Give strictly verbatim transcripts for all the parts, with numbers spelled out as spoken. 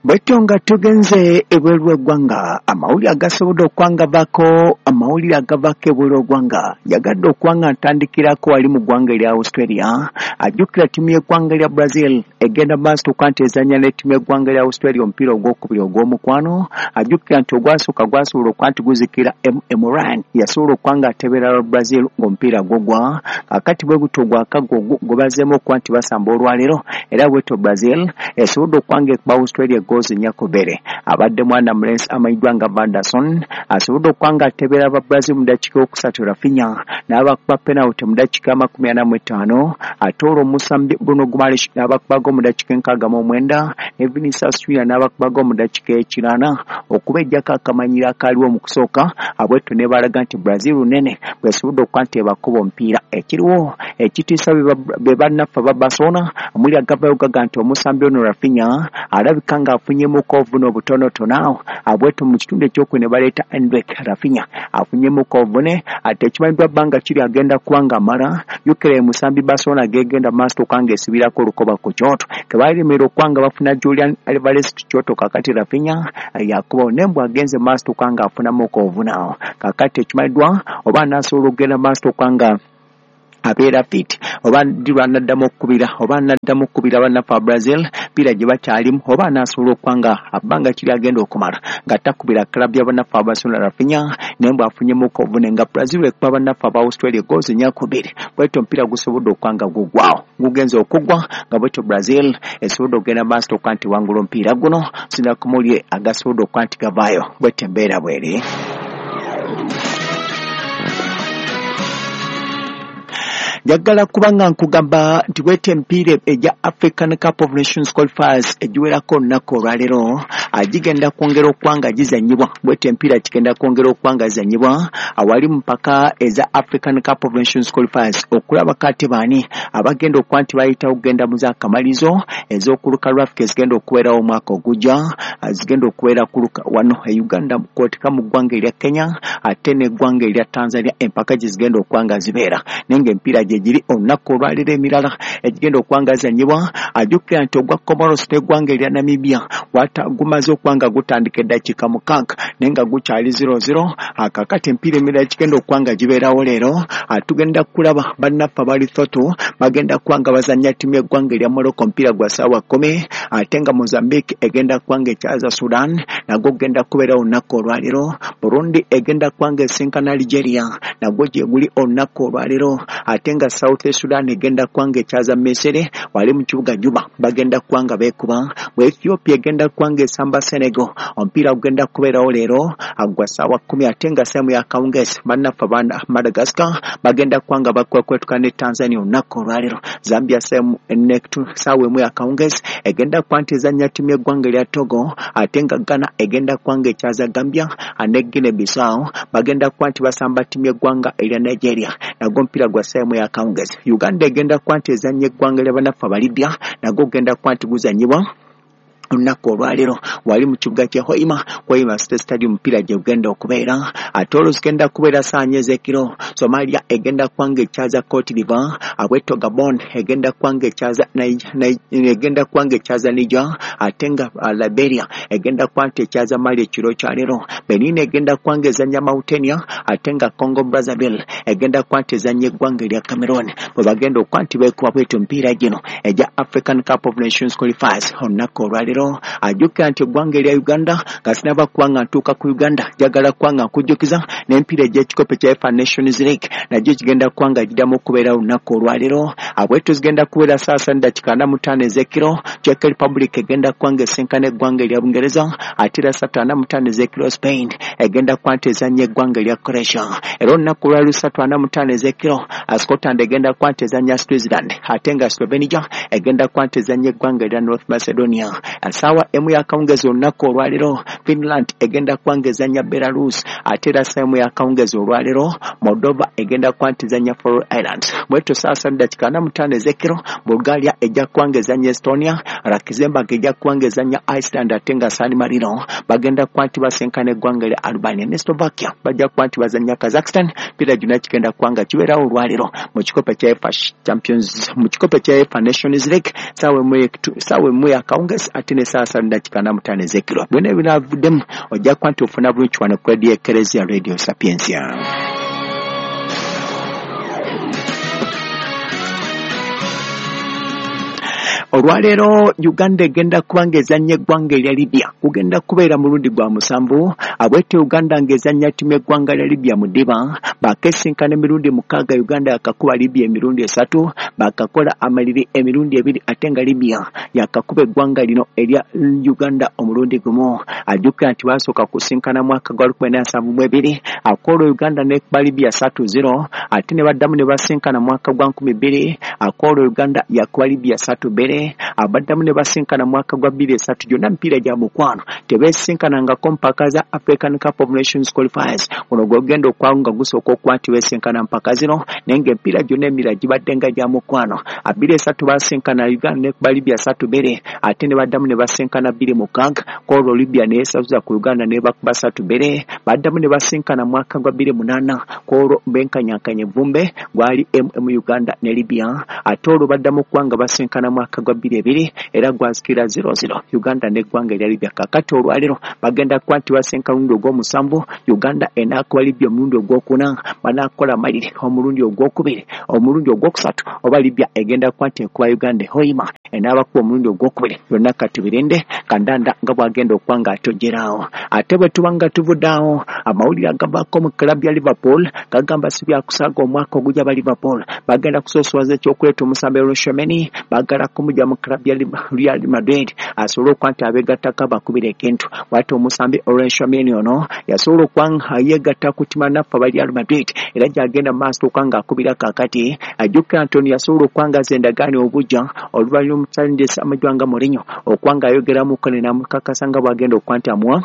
Bwetyo nga tugenze ebweru w'eggwanga, amawulire agasobodde okwangavako amawulire agavako ebweru w'eggwanga yagadde okwanga ntandikirako wali mu ggwanga erya Australia. Ajjukira ttiimu y'eggwanga lya Brazil egenda maaso okuba nti ezannya ne ttiimu y'eggwanga lya Australia omupiira ogwokubiri ogw'omukwano. Ajjukira nti ogwasooka gwasobola okuba nti guzikira M Ryan yasobola okuba nga ateberera Brazil ng'omupiira gugwa. Kaakati bwe gutyo gwakagwa gwe bazzeemu okuba nti basamba olwaleero, era bwetyo Brazil esobodde okuba nga ekuba Australia gozi nnya ku bbiri. Abadde mwana mulenzi amanyiddwa nga Vanderson asobodde okuba nga atebera aba Brazil mu ddakiika okusatu, Rafinha n'abakuba penalty mu ddakiika amakumi ana mu ttaano, ate olwo omusambi Bruno Guimaraes n'abakubago mu ddakiika enkaaga mu mwenda, ne Vinicius Junior n'abakubago mu ddakiika ekinaana okubejjako akamanyiro akaaliwo mu kusooka. Abwetyo ne balaga nti Brazil nnene bw'esobodde okuba nti ebakuba omupiira. Ekiriwo ekitiisa be bannaffe aba Barcelona amuli agavayo gaga nti omusambi ono Rafinha alabika ng'afunyemuko obuvune obutonotono awo. Abwetyo mu kitundu ekyokubiri ne baleeta Endrick. Rafinha afunyemuko obuvune ate ekimanyiddwa bbanga kiri agenda kuba ng'amala. Jjukira musambi Barcelona gegenda maaso okuba ng'esibirako olukoba ku kyoto kebalemera okuba nga bafuna Julian Alvarez ku kyoto. Kaakati Rafinha yakubawo naye mbw agenze maaso okuba ng'afunamuko obuvune awo. Kaakati ekimanyiddwa oba anaasobola okugenda maaso okuba nga abeera fit, oba ddi lw'anaddamu okukubira oba anaddamu okukubira bannaffe aba Brazil mpiira gye bakyalimu, oba anaasobola okuba nga abbanga kiri agenda okumala nga takubira club ya bannaffe aba Barcelona Rafinha, naye mbw afunyemuko obuvune nga Brazil ekuba bannaffe aba Australia gozi nnya ku bbiri. Bwetyo omupiira gusobodde okuba nga gugwawo, gugenze okuggwa nga bwetyo Brazil esobodde okugenda maaso okuba nti wangula omupiira guno sinakumulye agasobodde okuba nti gavaayo. Bwetyo embeera bweri. Njagala kuba nga nkugamba nti bwetyo emipiira egya African Cup of Nations qualifiers egiwerako olunaku olwaleero gigenda kwongera okuba nga gizannyibwa. Bwetyo emipiira gigenda kwongera okuba nga gizannyibwa awali mu mpaka eza African Cup of Nations qualifiers okulabako ate baani abagenda okuba nti bayitawo okugenda mu z'akamalirizo ez'okuluka lwa Africa ezigenda okubeerawo omwaka ogujja, zigenda okubeera kuluka wano e Uganda kwoteka mu ggwanga erya Kenya ate n'eggwanga erya Tanzania empaka gye zigenda okuba nga zibeera. Naye ng'emipiira gye giri olunaku olwaleero emirala egigenda okuba nga zizannyibwa. Ajjukira nti ogwa Comoros n'eggwanga erya Namibia gumaze okuba nga gutandika eddakiika mukaaga naye nga gukyali zero zero. Kaakati emipiira emirala gigenda okuba nga gibeerawo leero. Tugenda kulaba bannaffe aba Lesotho bagenda kuba nga bazannya ttiimu y'eggwanga erya Morocco omupiira gwa ssaawa kkumi, ate nga Mozambique egenda kuba nga ekyaza Sudan nagwo gugenda kubeerawo olunaku olwaleero. Burundi egenda kuba nga esinkana Algeria nagwo gye guli olunaku olwaleero, ate nga South Sudan egenda kuba nga ekyaza Misiri wali mu kibuga Juba bagenda kuba nga beekuba. Bwe Ethiopia egenda kuba nga esamba Senegal omupiira gugenda kubeerawo leero gwa ssaawa kkumi, ate nga sehemu ya akawungeezi bannaffe aba Madagascar bagenda kuba nga bakwekwetuka ne Tanzania olunaku olwaleero. Zambia ssaawa emu y'akawungeezi egenda kuba nti ezannya ttiimu y'eggwanga erya Togo, ate nga Ghana egenda kuba nga ekyaza Gambia ne Guinea Bissau bagenda kuba nti basamba ttiimu y'eggwanga erya Nigeria nagwo omupiira gwa ssaawa emu y'akawungeezi. Uganda egenda kuba nti ezannya eggwanga lya bannaffe aba Libya nagwo gugenda kuba nti guzannyibwa olunaku olwaleero wali mu kibuga kya Hoima, Hoima State Stadium omupiira gye gugenda okubeera. Ate olwo zigenda kubeera ssaawa nnya ez'ekiro Somalia egenda kuba nga ekyaza Cote d'Ivoire, abwetyo Gabon egenda kuba nga ekyaza egenda kuba nga ekyaza Niger, ate nga Liberia egenda kuba nti ekyaza Mali ekiro kya leero. Benin egenda kuba nga ezannya Mauritania, ate nga Congo Brazzaville egenda kuba nti ezannya eggwanga erya Cameroon bwe bagenda okuba nti beekuba bwetyo emipiira gino egya African Cup of Nations qualifiers olunaku olwaleero. Ajjukira nti eggwanga erya Uganda nga sinaba kuba nga ntuuka ku Uganda njagala kuba nga nkujjukiza n'emipiira egy'ekikopo kya UEFA Nations League nagyo gigenda kuba nga giddamu okubeera olunaku olwaleero. Abwetyo zigenda kubeera ssaawa ssatu n'eddakiika ana mu ttaano ez'ekiro Czech Republic egenda kuba nga esinkana eggwanga erya Bungereza, ate era ssatu ana mu ttaano ez'ekiro Spain egenda kuba nti ezannya eggwanga erya Croatia. Era olunaku olwaleero ssatu ana mu ttaano ez'ekiro Scotland egenda kuba nti ezannya Switzerland, ate nga Slovenia egenda kuba nti ezannya eggwanga erya North Macedonia. Ssaawa emu y'akawungeezi olunaku olwaleero Finland egenda kuba nga ezannya Belarus, ate era ssaawa emu y'akawungeezi olwaleero Moldova egenda kuba nti ezannya Faroe Islands. Bwetyo ssaawa ssatu n'eddakiika ana mu ttaano ez'ekiro Bulgaria ejja kuba nga ezannya Estonia, Luxembourg ejja kuba ng'ezannya Iceland ate nga San Marino bagenda kuba nti basinkana eggwanga erya Albania ne Slovakia bajja kuba nti bazannya Kazakhstan. Mpira gyonna kigenda kuba nga kibeerawo olwaleero mu kikopo kya UEFA Champions, mu kikopo kya UEFA Nations League saawa emu yakawungezi ate ne saawa ssatu dakiika ana mu ttaano ez'ekiro. Byonna ebinaavuddemu ojja kuba nti ofuna bulungi wano ku Radio Ekereziya, Radio Sapientia. Olwaleero Uganda egenda kuba ng'ezannya eggwanga erya Libya, kugenda kubeera mulundi gwa musanvu abwete Uganda ng'ezannya ttiimu y'eggwanga lya Libya mu ddiba. Baakesinkana emirundi mukaaga, Uganda yakakuba Libya emirundi esatu, baakakola amaliri emirundi ebiri ate nga Libya yakakuba eggwanga lino erya Uganda omulundi gumu. Ajjukira nti baasooka kusinkana mwaka gwa lukumi nsanvu mu ebiri akoolwo Uganda n'ekuba Libya ssatu zero, ate ne baddamu ne basinkana mwaka gwa nkumi bbiri akoolwo Uganda yakuba Libya ssatu bbiri, abaddamu ne basinkana mwaka gwa bbiri esatu. Gyonna mipiira gya mukwano, tebeesinkanangako mpaka za African Cup of Nations qualifiers. Guno gwogenda okwawo nga gusooka okuba nti beesinkana mpaka zino, naye ng'emipiira gyonna emirala gibadde nga gya mukwano. Abiri esatu basinkana Uganda n'ekuba Libya ssatu bbiri, ate ne baddamu ne basinkana bbiri mukaaga kwolwo Libya neyesazuza ku Uganda n'ebakuba ssatu bbiri. Baddamu ne basinkana mwaka gwa bbiri munaana kwolwo benkanyankanya evvumbe gwali M M Uganda ne Libya, ate olwo baddamu okuba nga basinkana mwaka gwa bbiri ebiri era gwazikira zero zero Uganda n'eggwanga erya Libya. Kakati olwaleero bagenda kuba nti basinkana omulundi ogw'omusanvu, Uganda enaakuba Libya omulundi ogwokuna, banaakola amaliri omulundi ogwokubiri, omulundi ogwokusatu oba Libya egenda kuba nti ekuba Uganda ehoima enaabakuba omulundi ogwokubiri. Byonna katubirinde kandanda nga bwagenda okuba nga atojjeraawo. Ate bwe tuba nga tuvudde awo, amawulire agavaako mu club ya Liverpool gagamba si byakusaaga, omwaka ogujja ba Liverpool bagenda kusoosowaza ekyokuleeta omusambi Tchouameni, baagala kumujja mu club ya Real Madrid asobole okuba nti abeegattako abakubira ekintu. Bw'atyo omusambi Tchouameni ono yasobola okuba nga yeegatta ku ttiimu naffe aba Real Madrid era gy'agenda mu maaso okuba ng'akubira kaakati. Ajjukira nti ono yasobola okuba nga azza endagaano obujja oluvannyuma omutendesi amajwa nga Mourinho okuba ng'ayogeramuko ne namukakasa nga bw'agenda okuba nti amuwa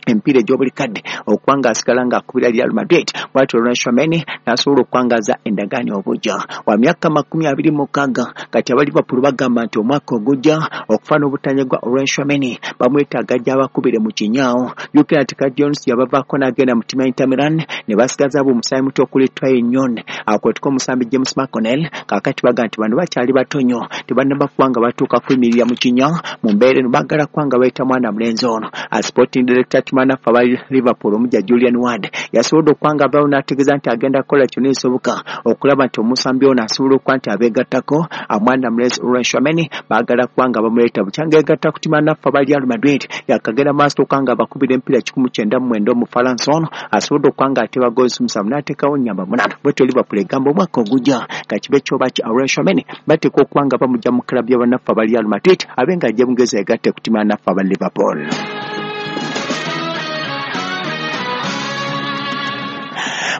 empiira egy'obuli kadde okuba ng'asigala ng'akubira Real Madrid. Bw'atyo Tchouameni n'asobola okwangaza endagaano obujja wa myaka makumi abiri mukaaga. Kati aba Liverpool bagamba nti omwaka ogujja okufa n'obutanyagwa Tchouameni bamwetaaga gy'abakubire mu kinyaawo. Jjukira nti Curtis Jones yabavaako n'agenda mu ttiimu ya Inter Milan ne basigaza abo omusaayi muto okuli Trey-Nyoni akwetuka omusambi James McConnell. Kaakati bagamba nti bano bakyali bato nnyo, tebannaba kuba nga batuuka kuyimirira mu kinya. Mu mbeera eno baagala kuba nga bayita mwana mulenzi ono. Sporting director manaffe aba Liverpool omujja Julian Ward yasobodde okuba nga avaayo n'ategeeza nti agenda kukola kyonna ekisoboka okulaba nti omusambi ono asobola okuba nti abeegattako. Omwana mulenzi Tchouameni baagala kuba nga bamuleeta bukyanga yeegatta ku ttiimu naffe aba Real Madrid, yakagenda maaso okuba nga bakubira emipiira kikumi kyenda mu mwenda. Omufalansa ono asobodde okuba nga ateba goals musanvu n'ateekawo nnyamba munaana. Bwetyo Liverpool egamba omwaka ogujja kakibe kyoba ki Tchouameni bateekwa okuba nga bamujja mu club y'abannaffe aba Real Madrid abe nga ajja Bungereza yegatte ku ttiimu naffe aba Liverpool.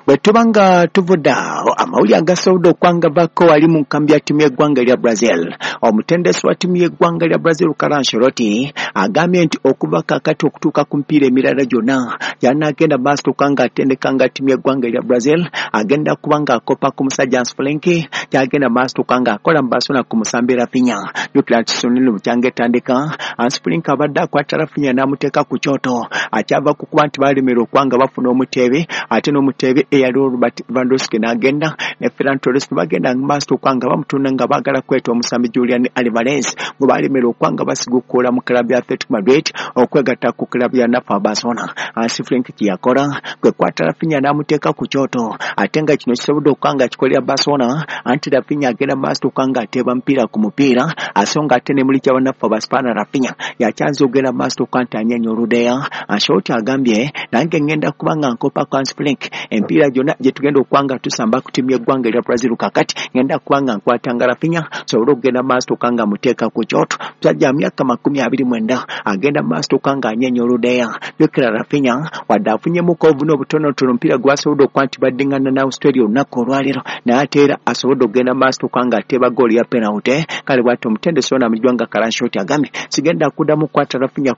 Bwe tuba nga tuvudde awo, amawulire agasobodde okwangavako wali mu nkambi ya ttiimu y'eggwanga erya Brazil, omutendesi wa ttiimu y'eggwanga lya Brazil Carlo Ancelotti agambye nti okuva kaakati okutuuka ku mipiira emirala gyonna gy'anaagenda maaso okuba ng'atendeka nga ttiimu y'eggwanga erya Brazil, agenda kuba ng'akopa ku musajja Hansi Flick kyagenda maaso okuba ng'akola mu Barcelona ku musambi Raphinha. Jjukira nti season bukyanga etandika Hansi Flick abadde akwata Raphinha n'amuteeka ku kyoto, akyava ku kuba nti baalemererwa okuba nga bafuna omuteebe, ate n'omuteebe eyali Robert Lewandowski n'agenda ne Ferran Torres ne bagenda mu maaso okuba nga bamutunda nga baagala kweta omusambi Julian Alvarez gwe baalemererwa okuba nga basigukuula mu club ya Atletico Madrid okwegatta ku club ya nafa Barcelona. Hansi Flick kye yakola kwe kwata Raphinha n'amuteeka ku kyoto, ate nga kino kisobodde okuba nga kikolera Barcelona, anti Raphinha agenda mu maaso okuba nga ateeba mupiira ku mupiira, aso nga ate ne muli kyabannaffe Abaspaana Raphinha yakyanza okugenda mu maaso okuba nti anyenya oludeya. Ancelotti agambye, nange ngenda kuba nga nkopa ku Hansi Flick emipiira gyonna gye tugenda okuba nga tusamba ku ttiimu y'eggwanga erya Brazil. Kakati ngenda kuba nga nkwatanga Raphinha sobole okugenda mu maaso okuba nga muteeka ku kyoto. Musajja myaka makumi abiri mwenda agenda mu maaso okuba nga anyenya oludeya. Jjukira Raphinha wadde afunyemuko obuvune obutonotono omupiira gwasobodde okuba nti baddiŋŋana ne Australia olunaku olwaleero, naye ate era asobodde okugenda mu maaso okuba nga ateeba ggoolo ya penalty. Kale bw'atyo omutendesi ono amanyiddwa nga Carlo Ancelotti agambye, sigenda kuddamu kukwata Raphinha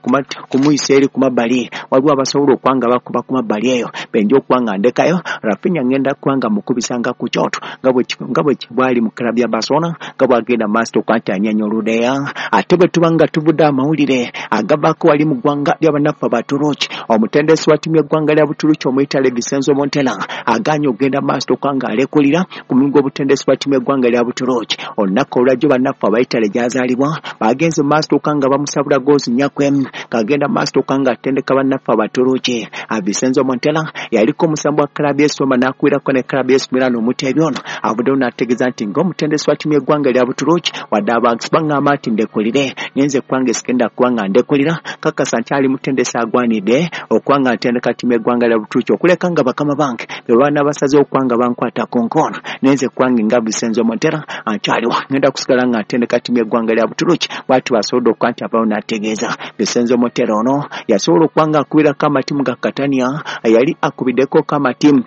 kumuyisa eri ku mabbali, waliwo abasobola okuba nga bakuba ku mabbali eyo benja okuba nga ndekayo Rafinha ngenda kwanga mukubisanga ku kyoto nga bwe nga bwe bwali mu club ya Barcelona nga bwagenda master okwanta anyanyoluddeya. Ate bwe tuba nga tuvudde amawulire agavaako wali mu ggwanga ly'abannaffe Abaturuki, omutendesi wa ttiimu y'eggwanga lya Buturuki omuyitale Vincenzo Montella agaanye okugenda maaso okwanga alekulira ku mulimu gw'obutendesi bwa ttiimu y'eggwanga lya Buturuki. Olunaku olwajjo bannaffe abayitale gy'azaalibwa bagenze mu maaso okwanga bamusabula goozi nnya ku emu ng'agenda maaso okwanga atendeka bannaffe Abaturuki. Vincenzo Montella yaliko omusambi wa club y'e Roma n'akubirako ne club y'e Milan omuteebi ono avuddeyo n'ategeeza nti ng'omutendesi wa ttiimu y'eggwanga lya Buturuki wadde abantu baŋŋamba nti ndekulire nyenze kwange sigenda kuba nga ndekulira, kakasa nti ali mutendesi agwanidde okuba nga ntendeka ttiimu y'eggwanga lya Buturuki okuleka nga bakama bange be baana basazeewo okuba nga bankwata ku nkono nenze kwange nga Vincenzo Montella nkyaliwo ngenda kusigala nga ntendeka ttiimu y'eggwanga lya Buturuki. Bw'atyo basobodde okuba nti avaayo n'ategeeza. Vincenzo Montella ono yasobola okuba nga akubirako amatiimu ga Catania, yali akubiddeko amatiimu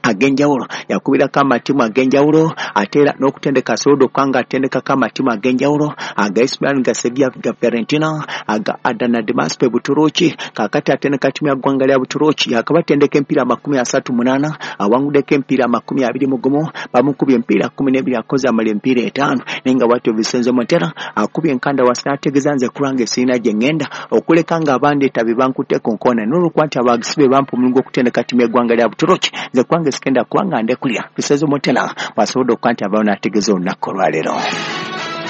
ag'enjawulo, yakubirako amatiimu ag'enjawulo ate era n'okutendeka asobodde okuba nga atendekako amatiimu ag'enjawulo aga A C Milan, ga Sevilla, ga Fiorentina, aga Adana Demirspor Buturuki. Kaakati atendeka ttiimu ya ggwanga lya Buturuki, yakabatendeka emipiira amakumi asatu munaana, awanguddeko emipiira amakumi abiri mu gumu, bamukubye emipiira kkumi n'ebiri, akoze amala emipiira etaano. Naye nga bw'atyo Vincenzo Montella akubye enkanda wansi n'ategeeza nze kulwange sirina gye ŋŋenda okuleka nga abandeeta be bankutte ku nkoona n'olwokuba nti abagisi be bampa omulimu gw'okutendeka ttiimu y'eggwanga lya Buturuki, nze kwange sigenda kuba nga ndekulira. Vincenzo Montella bw'asobodde okuba nti avaayo n'ategeeza olunaku olwaleero.